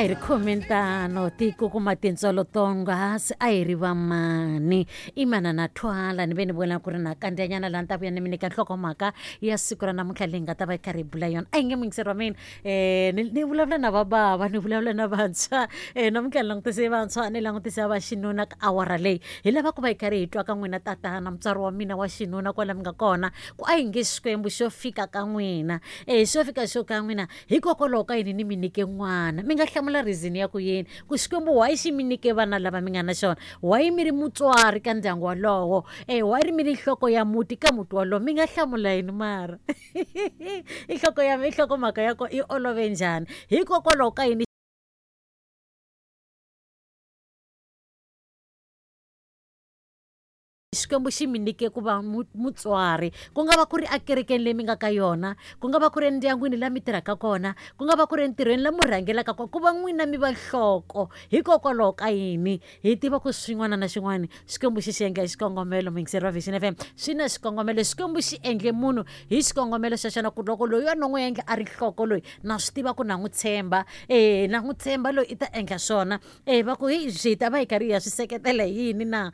A hi ri khomentano tiko kuma tintswalo tonghasi a hi ri vamani i manana thwala ni ve ni vona ku ri na kandziyanyana laha ni ta vuya ni mi nyika nhlokomhaka ya siku ra namuntlha leyi nga ta va yi karhi yi bula yona. A yi nge muyingiseri wa mina, ni vulavula na vabava, ni vulavula na vantshwa, namuntlha ni langutise vantshwa, ni langutise va xinuna ka awara leyi. Hi lava ku va hi karhi hi twa ka n'wina tatana, mutswari wa mina wa xinuna kwala mi nga kona, ku a yi nge Xikwembu xo fika ka n'wina, xo fika xo ka n'wina hikokwalaho ka yini ni mi nyike n'wana. Mi nga hlamula reason ya ku yini ku Xikwembu why xi mi nyike vana lava mi nga na xona, why mi ri mutswari ka ndyangu walowo, why ri mi ri nhloko ya muti ka muti walowo. Mi nga hlamula yini mara? I nhloko ya i nhlokomhaka ya kona yi olove njhani? Hikokwalaho ka yini Xikwembu xi mi nyike ku va mutswari, ku nga va ku ri ekerekeni leyi mi nga ka yona, ku nga va ku ri endyangwini laha mi tirhaka kona, ku nga va ku ri entirhweni laha mi rhangelaka kona, ku va n'wina mi va nhloko. Hikokwalaho ka yini? Hi tiva ku xin'wana na xin'wana Xikwembu xi xi endla hi xikongomelo. Muyingiseri wa Vision FM, swi na xikongomelo. Xikwembu xi endle munhu hi xikongomelo xa xona, ku loko loyi a no n'wi endla a ri nhloko loyi, na swi tiva ku na n'wi tshemba, na n'wi tshemba loyi i ta endla swona. Va ku hi swi ta va hi karhi hi ya swi seketela hi yini na?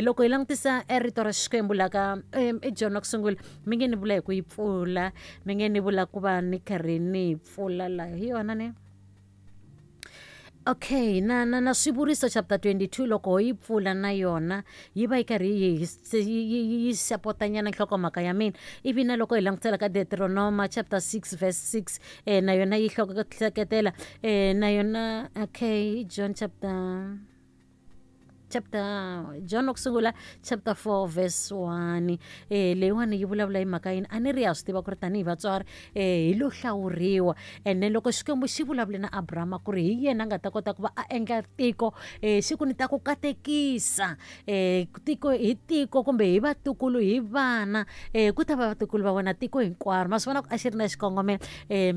Loko hi langutisa e rito ra Xikwembu la ka i John wa ku sungula, mi nge ni vula hi ku yi pfula, mi nge ni vula ku va ni karhi ni yi pfula la hi yona ne? Okay, na na na Swivuriso chapter 22 loko ho yi pfula na yona yi va yi karhi yi yi yi sapotanyana nhlokomhaka ya mina. Ivi na loko hi langutisela ka Deuteronoma chapter 6 verse 6, na yona yi hleketela, na yona. Okay, John chapter John wa ku sungula chapter 4 verse 1, leyiwani yi vulavula hi mhaka yini? A ni ri ya swi tiva ku ri tanihi vatswari, hi lo hlawuriwa, and then loko Xikwembu xi vulavule na Abrahama ku ri hi yena a nga ta kota ku va a endla tiko, xi ku ni ta ku katekisa, tiko hi tiko kumbe hi vatukulu, hi vana, ku ta va vatukulu va wena tiko hinkwaro. Ma swi vona ku a xi ri na xikongomelo.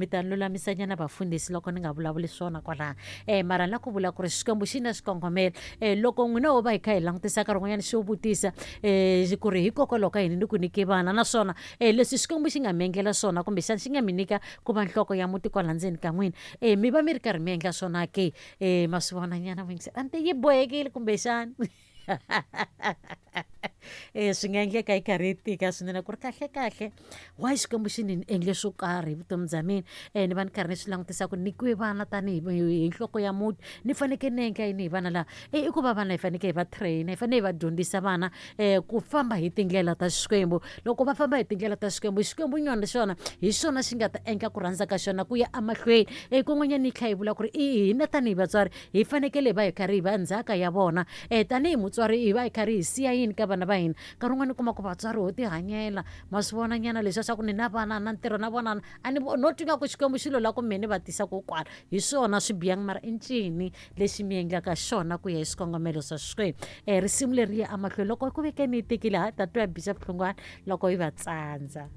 Mi ta lulamisanyana vafundhisi loko ni nga vulavuli swona kwalaha, mara ni la ku vula ku ri Xikwembu xi na xikongomelo. Loko n'wina ho va hi kha hi langutisa nkarhi wun'wanyana xo vutisa, ku ri hikokwalaho ka yini ni ku nyike vana, naswona, leswi Xikwembu xi nga mi endlela swona kumbexana xi nga mi nyika ku va nhloko ya muti kwala ndzeni ka n'wina, mi va mi ri karhi mi endla swona ke? Ma swi vona nyana muyingiseri, a ni te yi bohekile kumbexana. Swi nga endleka yi karhi yi tika swinene ku ri kahle kahle why Xikwembu xi ni endle swo karhi hi vutomi bya mina, ni va ni karhi ni swi langutisa ku nyikiwe vana tanihi hi nhloko ya muti, ni fanekele ni endla yini hi vana lava? I ku va vana hi fanekele hi va train, hi fanele hi va dyondzisa vana, ku famba hi tindlela ta Xikwembu. Loko va famba hi tindlela ta Xikwembu, Xikwembu nyona xona hi xona xi nga ta endla ku rhandza ka xona ku ya emahlweni. Kun'wanyana yi tlhela yi vula ku ri i hina tanihi vatswari hi fanekele hi va hi karhi hi va ndzhaka ya vona. Tanihi mutswari hi va hi karhi hi siya yini ka vana va hina? Nkarhi wun'wani u kuma ku vatswari ho tihanyela, ma swi vona nyana leswiya swa ku ni na vana na ntirho na vona, a ni no twa ingaku Xikwembu xi lo lava ku mehe ni va tisa ko kwala. Hi swona swi bihangi, mara i ncini lexi mi endlaka xona ku ya hi swikongomelo swa Xikwembu? Risimu leri ya emahlweni loko ku veke ni yi tekile, ha ta twa Bishop Hlungwani loko yi va tsandza.